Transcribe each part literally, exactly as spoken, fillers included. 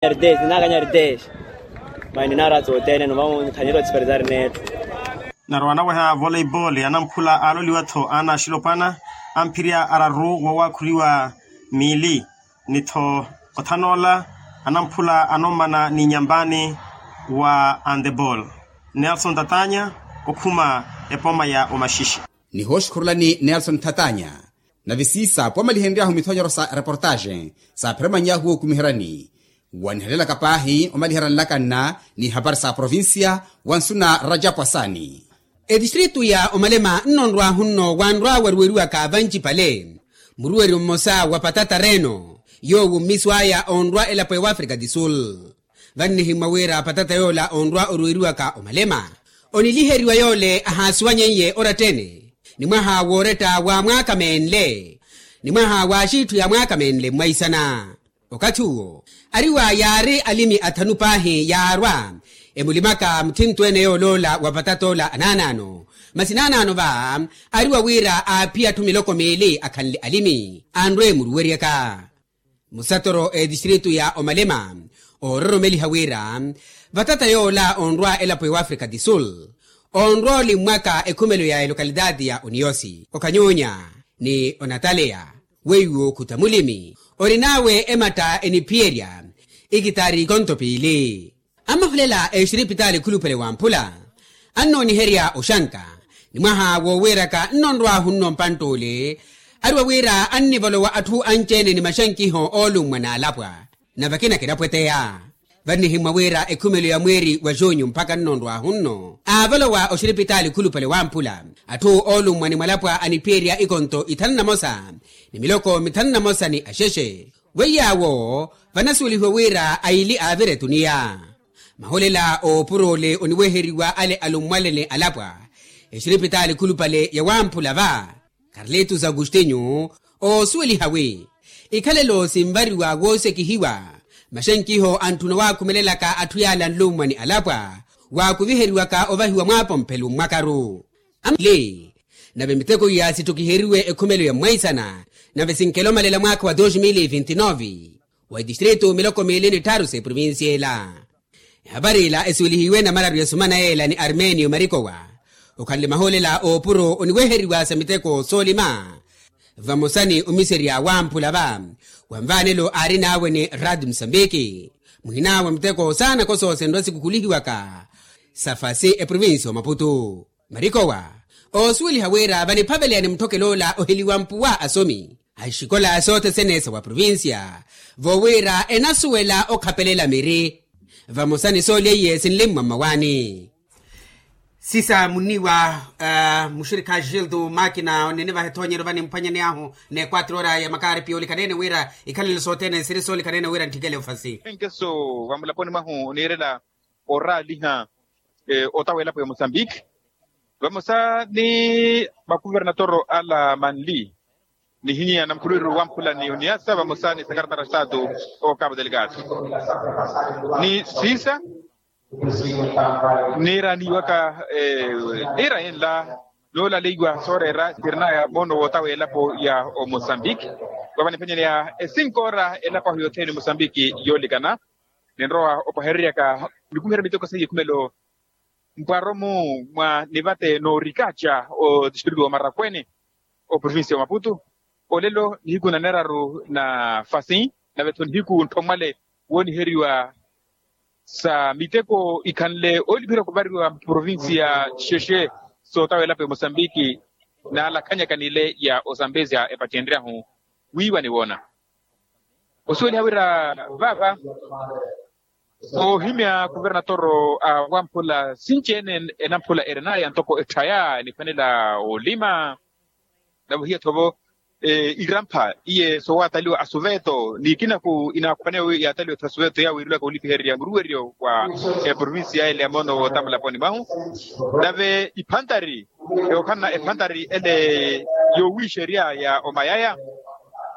Ninaakanya ardez. Mani nara tsotene no vamo nkhanira otsiperetari neetho. Nari wanaweha voleibol anamphula aloliwa-tho ana axilopwana amphirya araru wawaakhuriwa miili ni-tho othanoola anamphula anommana ni nyampani wa antebol. Nelson tatanya okhuma epoma ya omaxixe. Nihooxukhurulani nelson thatanya. Nave siisa pwamalihenryahu mithonyoro sa reportaxe saapheremany'ahu wookumiheryani wanihalelaka paahi omaliherya nlakanna ni hapari sa provincia. Wansu na rajapu asaani. Etistritu ya omalema nnonrwahu nno wanrwa waruweriwaka vancipale muruweryo mmosa wa patata reno yoowo mmisu aya onrwa elapo ewafrika di sul. Vannihimmwa wira patata yoola onrwa oruweriwaka omalema oniliheriwa yoole ahaasuwanyeiye oratta-ene ni mwaha wooretta wa mwaaka meenle ni mwaha wa axiitthu ya mwaaka meenle mmwaisana. Okathi uwo ariwa yaari alimi athanu paahi yaarwa emulimaka muthinto-ene yooloola wa patata ola anaanaano masi naanaano va ariwa wira aaphiya atthu miloko miili akhanle alimi anrwe muruweryaka. Musatoro etistritu ya omalema oororomeliha wira vatata yoola onrwa elapo ewafrika di sul onrwa olimmwaka ekhumelo ya elokalitaati ya oniyosi okanyunya ni onataleya weiwo khuta mulimi orin'awe ematta eniphiyerya ikitari ikonto piili. Amahulela exiripitaali khulupale wamphula annooniherya oxanka ni mwaha wooweeraka nnonrwahu nno mpantt'ule ariwa wira annivolowa atthu anci-ene ni maxankiho oolummwa n'alapwa. Nave akina kinapweteya vannihimmwa wira ekhumelo ya mweeri wa junyu mpakha nnonrwahu nno aavolowa oxiripitaali khulupale wamphula atthu oolummwa ni mwalapwa aniphiyerya ikonto ithanu na mosa ni miloko mithanu na mosa ni axexe. Weiy'awo vanasuwelihiwa wira aili aavira etuniya maholela oopuro ole oniweheriwa ale alummwale ni alapwa exiripitaali khulupale ya wamphula va karlitus agustinyu oosuweliha wi ikhalelo sinvariwa woosekihiwa maxenkiho antthuna waakhumelelaka atthu yaale anlummwa ni alapwa waakuviheriwaka ovahiwa mwaapomphelo mmwakaru. Amle nave miteko iya sittukiheriwe ekhumelo ya mmwaisana nave sinkelomalela mwaakha wa dos mil e vinti nove wa etistritu miloko miili ni tthaaru s'eprovincia ela. Ehapari ila esuwelihiwe namararu ya sumana yeela ni armenio marikowa okhanle mahoolela oopuro oniweheriwa sa miteko soolima vamosa ni omiserya wamphula va wanvaanelo aarin'awe ni rad musambiki muhin'awe miteko saana kosoosenrwa sikukhulihiwaka sa fasi eprovincia omaputu. Marikowa oosuweliha wira vaniphaveleya ni mutthokelo ola oheliwa mpuwa asomi axikola sothene sa wa provincia voowira enasuwela okhapelela miri vamosa ni soolya iye sinlimmwa mmawaani. Sisa munniwa muxirikha gildo makina onene vahe ethoonyero vanimphwanyaneyahu n'ekwatro ora ya makaari piyoolikanene wira ikhalelo sothene nsiri soolikanene wira ntthikele ofasi. Enkeso vamulaponi mwahu oniirela oraaliha otawa elapo ya mosambiki vamosa ni makuvernatoro ala manli nihinya na mukhulwiru wamphula ni oniyasa vamosa ni sekaretari a estatu o cabo delgado ni siisa niiraaniwaka niira yenla noolaleiwa sooreera sirinaya moono wootawa elapo ya omosambiki vava niphenyeneya esinkoora elapo ahu yothene mosambiki yoolikana ninrowa opwahereryaka nikumiherya miteko seiye ekhumelo mpwaromu mwa nivate noorikaca otistritu wa marakwene oprovincia wa maputu olelo nihiku naneraru na fasi nave-tho nihiku ntthomwale wooniheriwa sa miteko ikhanle oolipherya okuvariwa mprovincia xexe sootawa elapo ya mosambiki naalakhanyaka nile ya osambezya epattenryahu wiiwa niwoona osuweliha wira vaava oohimya kuvernatoro a wamphula sinci-ene enamphula erenaya ntoko etthaya niphanela olima nave ohiya-tho-vo irampha iye soowataliwa asuveto ni ikinaku inaakhwaneya wi yaataliwa-tho asuveto yaawiiriwaka olipihererya muruweryo wa eprovincia ele ya moono wootamulaponi mwahu nave iphantari yookhalana ephantari ele yoowiixerya ya omayaya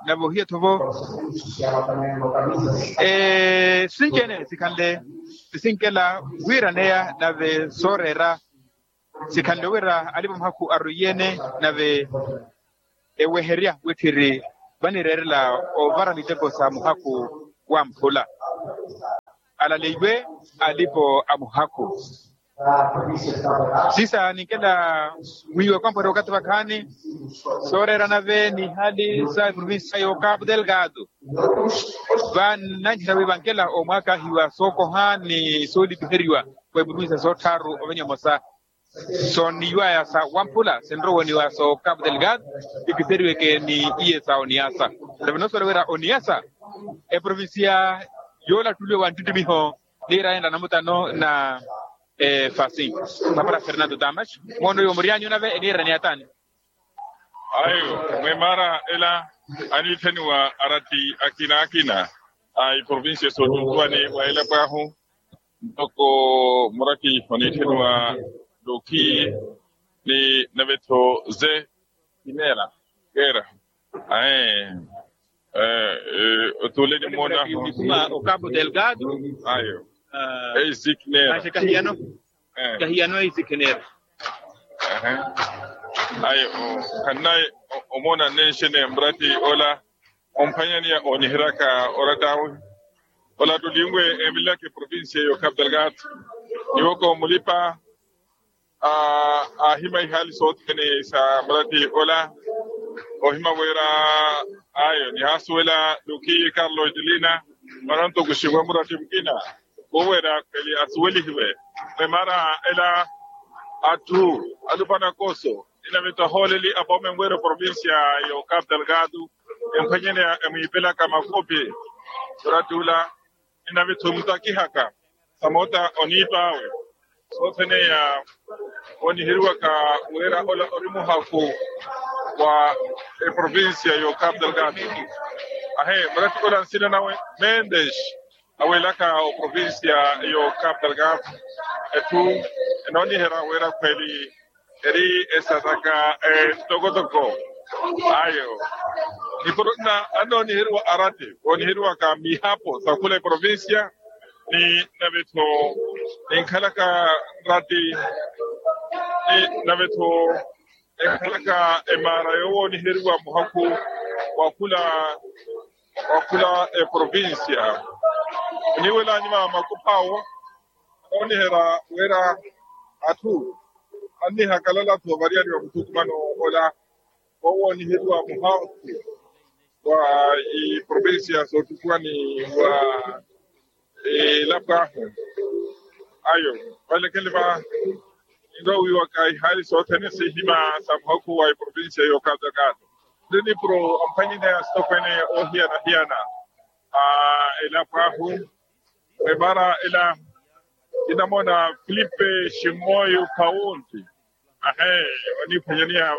nave ohiya-tho-vo sinci-ene sikhanle sisinkela wiiraneya nave sooreera sikhanle wira alipa muhakhu arwiiyene nave eweherya witthiri vanireerela ovara miteko sa muhakhu wamphula alaleiwe alipo a muhakhu. Sisa ninkela wiiwe kwampwere okathi vakhaani, sooreera nave ni hali sa eprovincia yo capu delgado. Vananjira wi vankela omwaakahiwa sookoha ni soolipiheriwa, kwa eprovincia soottharu ovenya omosa. Sooniwaya sa wamphula sinrowa oniwaya so capu delgado, ipiseriweke ni iye sa oniasa. Nave noosowela wira oniasa eprovincia yoolattuliwa wa nttuttumiho, niira ela namutano na efasi. Papara fernando damas, moono iwo muriyanyu nave eniira ni ataani. Ayo, mwemaara ela aniittheniwa aratti akina akina a iprovincia sootuukuwani wa elapo ahu. Ntoko muraki oniittheniwa luki ni navetho ze kinera kera ae. Otuule ni mmoona okapu delgado. Ayo. Eisikinera. Kahiyano. Kahiyano eisikinera. Ayo. Khannaye omoona nenxene murati ola omphwanyaniya onihiryaka oratta awe. Olattuliwe emililaka eprovincia yo capu delgado. Iwoko mulipa aahima ihaali sothene sa murati ola. Ohima wira ayo nihaasuwela luki carlo etelina, mananto kuxiwa murati mukina. Khuwera khweli asuwelihiwe. Memara ela atthu alupana koso, inavetho ahooleli apome nweera oprovincia yo capu delgado. Emphwanyene emwiipelaka makopi. Murati ula inavetho emutakihaka samoota oniipa awe. Sothene ya oniheriwaka wira ola ori muhakhu wa eprovincia yo capu delgado. Ahe murati ola nsina nawe mendes. Aweelaka oprovincia yo capu delgado. Etthu enooniherya wira khweli eri esataka etokotoko. Ayo. Nipuro nna annooniheriwa aratti wooniheriwaka mihapo sa khula eprovincia ni navetho ninkhalaka nratti ni navetho enkhalaka emaara yoowooniheriwa muhakhu wa khula wa khula eprovincia. Oniiwela anyuma a makupha awo anooniherya wira atthu annihakalala-tho variyari wa muthukumano ola wowooniheriwa muhakhu wa iprovincia sootukuwani wa elapo ahu. Ayo valekele va ninrowiwaka ihaali sothene sihima sa muhakhu wa iprovincia yo capu delgado. Ndi nipuro amphwanyene asitokwene ohiyana-hiyana a elapo ahu. Emara ela inamoona filipe ximoyo paundi. Ahe oniphwanyaniya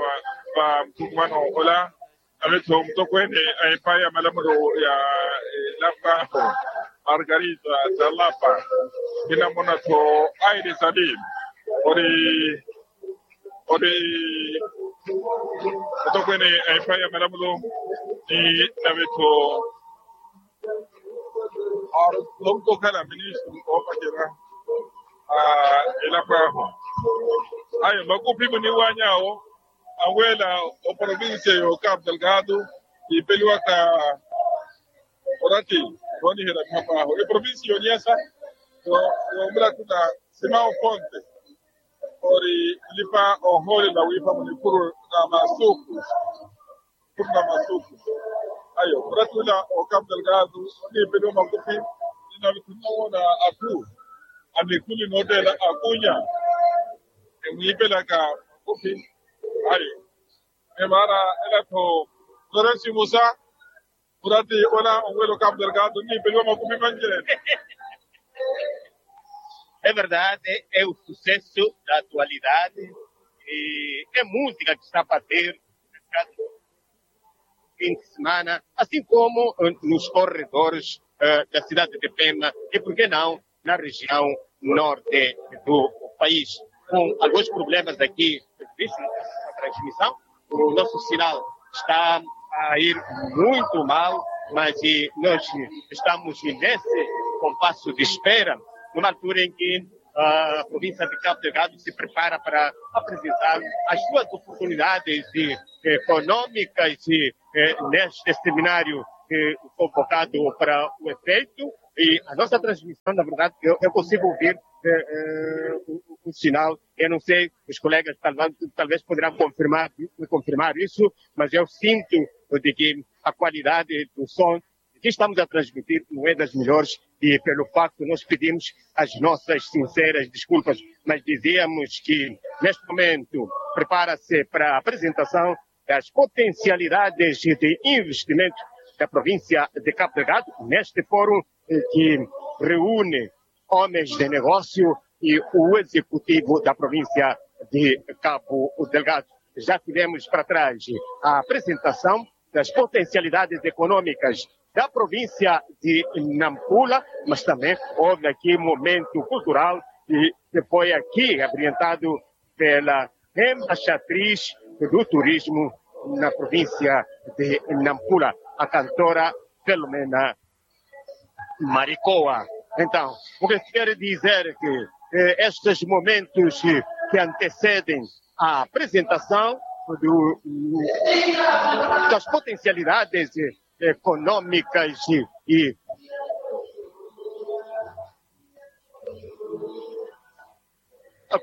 va muthukumano ola. Navetho mutokweene a epayi ya malamulo ya elapo ahu margarita talapa. Kinamoona-tho aile sali ori ori mutokweene a epayi ya malamulo ni navetho ori nonko okhala ministru oopacerya elapo ahu. Ayo makuphi muniiwany'awo anweela oprovincia yo capu delgado yiipeliwaka oratti nooniherya mihapo ahu eprovincia yoniyasa. Yoomulattula simao fonte ori mulipa ohoolela wiipa munikhuru na masuku. Ayo murattula o capu delgado oniipeliwa makuphi ninavitthu nnawoona atthu a mikhuli noottela akunya emwiipelaka makuphi. Ayo emara ela-tho noresimusa muratti ola onwela o capu delgado oniipeliwa makuphi manjene. É verdade, é o sucesso da atualidade e é música que está a bater nesse caso fim de semana, assim como nos corredores da cidade de Pemba e, por que não, na região norte do país. Com alguns problemas aqui previstos na transmissão, o nosso sinal está a ir muito mal, mas nós estamos nesse compasso de espera, numa altura em que a província de Cabo Delgado se prepara para apresentar as suas oportunidades econômicas neste seminário convocado para o efeito. E a nossa transmissão, na verdade, eu, eu consigo ouvir eh, eh, o, o sinal. Eu não sei, os colegas talvez, talvez poderão confirmar, confirmar isso, mas eu sinto de que a qualidade do som que estamos a transmitir não é das melhores e, pelo facto, nós pedimos as nossas sinceras desculpas, mas dizíamos que, neste momento, prepara-se para a apresentação das potencialidades de investimento da província de Cabo Delgado, neste fórum eh, que reúne homens de negócio e o executivo da província de Cabo Delgado. Já tivemos para trás a apresentação das potencialidades econômicas da província de Nampula, mas também houve aqui um momento cultural e que foi aqui abrilhantado pela embaixatriz do turismo na província de Nampula, a cantora Filomena Maricoa. Então, o que quer dizer que eh, estes momentos que, que antecedem a apresentação do, das potencialidades econômicas e, e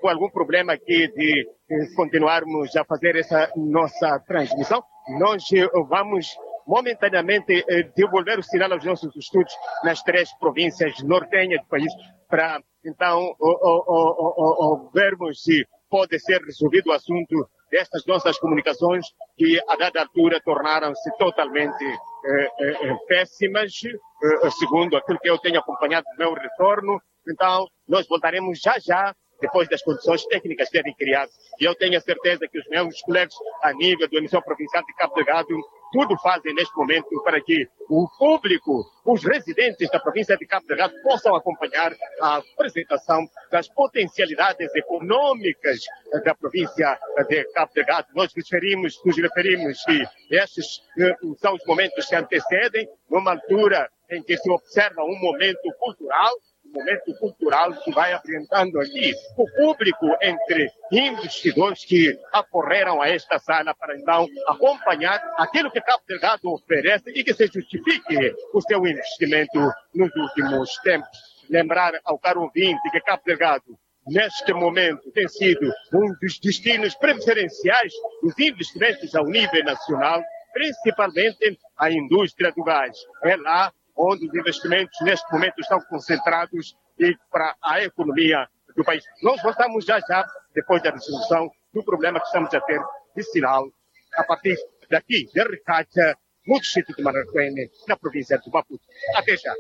com algum problema aqui de eh, continuarmos a fazer essa nossa transmissão. Nós eh, vamos momentaneamente eh, devolver o sinal aos nossos estudos nas três províncias nortenhas do país, para então o, o, o, o, o vermos se pode ser resolvido o assunto destas nossas comunicações que a dada altura tornaram-se totalmente eh, eh, eh, péssimas, eh, segundo aquilo que eu tenho acompanhado no meu retorno. Então, nós voltaremos já já, depois das condições técnicas serem criadas. E eu tenho a certeza que os meus colegas, a nível do emissor provincial de Cabo Delgado, tudo fazem neste momento para que o público, os residentes da província de Cabo Delgado, possam acompanhar a apresentação das potencialidades econômicas da província de Cabo Delgado. Nós referimos, nos referimos que estes eh, são os momentos que antecedem, numa altura em que se observa um momento cultural, um momento cultural que vai apresentando aqui o público entre investidores que acorreram a esta sala para então acompanhar aquilo que Cabo Delgado oferece e que se justifique o seu investimento nos últimos tempos. Lembrar ao caro ouvinte que Cabo Delgado neste momento, tem sido um dos destinos preferenciais dos investimentos ao nível nacional, principalmente a indústria do gás. É lá onde os investimentos, neste momento, estão concentrados e para a economia do país. Nós voltamos já, já, depois da resolução do problema que estamos a ter de sinal a partir daqui, de Ricacha, no distrito de Maracuene, na província de Maputo. Até já.